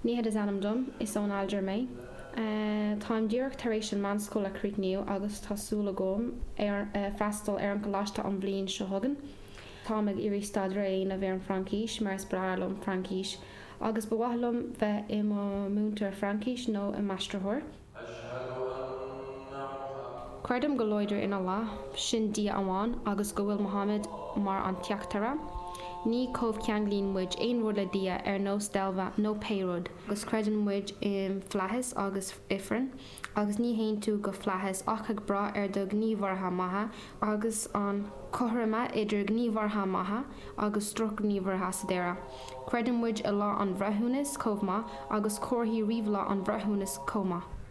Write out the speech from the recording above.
Nihad is ainm dom, is ón Ailgéir mé. Táim díreach tar éis an meánscoil a chríochnú agus tá súil agam freastal ar an choláiste an bhliain seo chugainn. Táim ag iarraidh staidéar a dhéanamh ar an Fraincis mar is breá liom Fraincis agus ba mhaith liom bheith i mo mhúinteoir Fraincis nó i m'aistritheoir. Creidim go láidir in Allah, sin Dia amháin, agus go bhfuil Muhammad mar an teachtaire. Ní chomhcheanglaíonn muid aon rud le Dia ar nós deilbhe nó pé rud, agus creideann muid i bhflaithis agus ifreann, agus ní théann tú go flaithis ach ag brath ar do ghníomhartha maithe agus an cothroime idir gníomhartha maithe agus drochghníomhartha sa deireadh. Creideann muid i Lá an Bhreithiúnais chomh maith, agus comharthaí roimh Lá an Bhreithiúnais chomh maith.